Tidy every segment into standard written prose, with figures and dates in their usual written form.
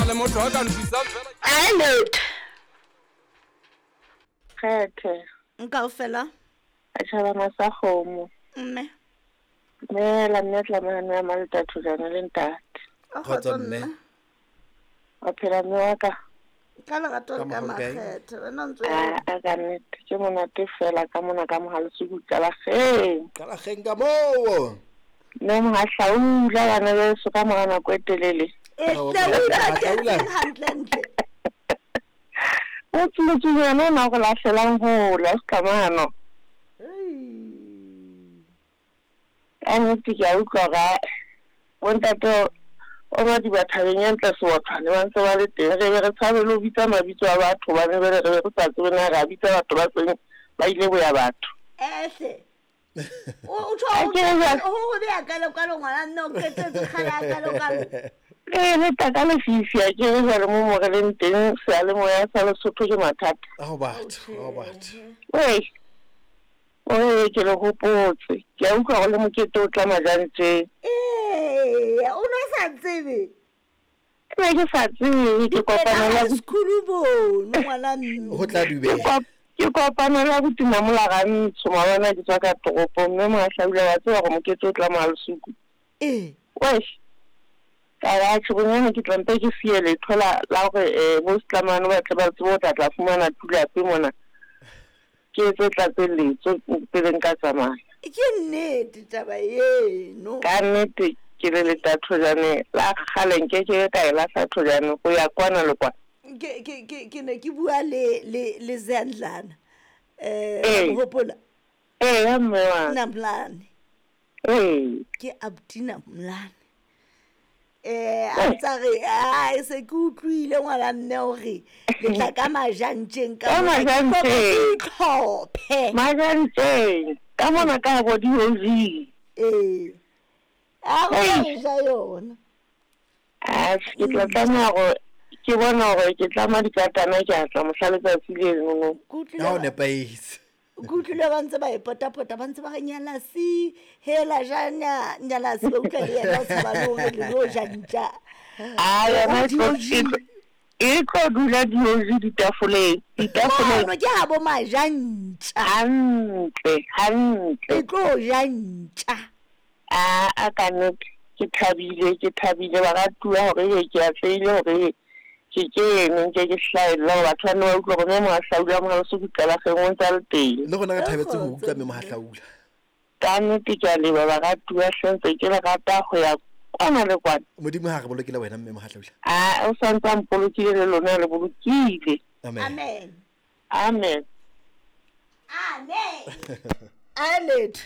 le motho a ka nthusang fela. Alert. Kgethe. Nkaofela. Setjhabana sa kgomo. Mme. Dumela mme Tlamehane ya Malta Thujane le ntate. Kgotso mme. Wa phela mme wa ka. Ka lerato le Ka ka mohau kae? makgethe. Wena o ntse A a ka nnete ke monate fela ka mona ka Mohalesuku Qalageng. Qalageng ka moo. Mme Mohahlaula bana beso ka mora nako e telele. E Ao, hle o Mohahlaula. ipatetseng hantlentle. O tsuletsunyana ona o re lahlelang hole a Setlamano. Ka nnete ke a utlwa hore ae, bontate o Madiba thabeng ya ntle Seothwane ba ntse ba le teng. Re be re tshabe le ho bitsa mabitso a batho hobane jwale re be re sa tsebe na re a bitsa batho ba seng ba ile boya batho. Ehle. O tjho Ha ke re jwale. ho ho beya kalo kalo ngwana nna o qetetse kgale a kalo kalo. Ee, le tla ka lefifi a ke re jwale mo mo re leng teng seyalemoya sa Lesotho ke mathata. Ao batho, ao batho. Wei, ore ke le hopotse. Ke a utlwa hore le mokete o tla majantjeng. Ee, o no sa tsebe. Ke ne ke sa tsebe ke kopana le High school bono ngwana mme. Ho tla ke dubeha. ke kopana le abuti Namola Rantsho maobane ha ke tswa ka toropong mme Mohahlaula wa tseba hore mokete o tla Mohalesuku. Ee. Wei, ka re atjhe bonyane ke tla mpe ke siye letho la la hore bo Setlamane ba tle ba tsebe ho tla tla fumana tulape mona. Ke etse tlatselletso pele nka tsamaya. Ke nnete taba eno. Ka nnete ke le leta thojane la kgale nkeke ka e lahla thojane ho ya kwana le kwana. Ke ke ke ke ne ke bua le le le Zandlana. Ee. Hopola Ee, ya mme wa. Namlane. Ee. Ke abuti Namlane. A ntsa re ai se ke utlwile ngwana mme hore le tla ka majantjeng ka Ka mona, ke majantjeng. kopa ke itlhophe. Majantjeng ka mona ka bo di-OG. Ee. A go Ei. ja yona. Atjhe, ke tla tlameha hore ke bona hore ke tlama dikatana ke a tla mohla letsatsi leno. Ke utlwile Ha o ba- nepahetse. ke utlwile ba ntse ba e potapota ba ntse ba re nyalasi hela ja nyalasi ba utlwa le yena o tshaba le hore le lo ja ntja. A yona e tlo O e tlo e tlo dula di-OG ditafoleng. Ditafoleng. Mono ke ha bo majantja. Hantle, hantle. E tlo ja ntja. A a ka nnete ke thabile, ke thabile baratuwa hore ebe ke atlehile hore ebe ke kene nke ke hlahella hore batho ba nne ba utlwe hore mme Mohahlaula Mohalesuku Qalageng o ntse a le teng. Le rona re thabetse ho Kgotso, utlwa mme mme. Mohahlaula. Ka nnete ke a leboha baratuwa hle ntse ke le rata ho ya kwana le kwana. Modimo ha re bolokela wena mme Mohahlaula. A o santse a mpolokile le lona le bolokile. Amen. Amen. Amen. Amen. Alet.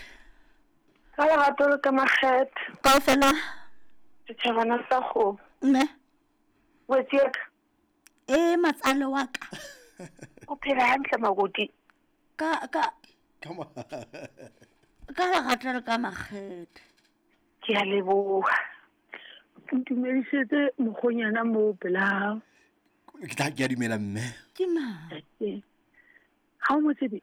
Ka lerato le ka makgethe. Kaofela. Setjhabana sa kgomo. Mme. Wetsi ya ka. E matsalo wa ka. O phela hantle makoti. Ka ka Come on. ka lerato le ka makgethe. Ke a leboha. Ntumedisetse mokgonyana moo pela hao. Ke tla ke a dumela mme. Ke mang? Ha o mo tsebe?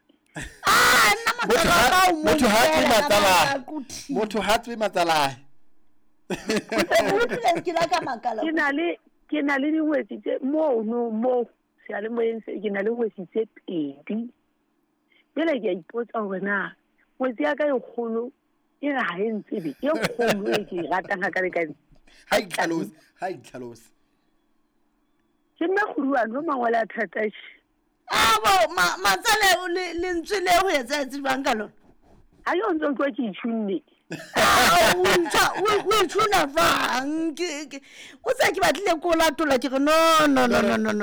Ah, nna Motho matsalo ha ka o mo motho ha tswe utlwela ka matsalae. baka ko Motho ha tswe matsalae. Utlwile ke la ka makala. Ke na le dingwetsi tse mono moo seyalemoyeng se ke na le ngwetsi tse pedi. Jwale ke a ipotsa hore na ngwetsi ya ka e kgolo e re ha e ntsebe e kgolo e ke e ratang hakalekale. Ha itlhalose, ha itlhalose. Ke nna kguduwane o mangwele a thata tjhe. Ah bo matsale le lentswe le ho etsahetse jwang ka lona? Ha ke o ntso utlwa ke itjhunne. Ah, o o itshuna jwang? Ke o tsa ke batlile ko latola ke re no no no no no no.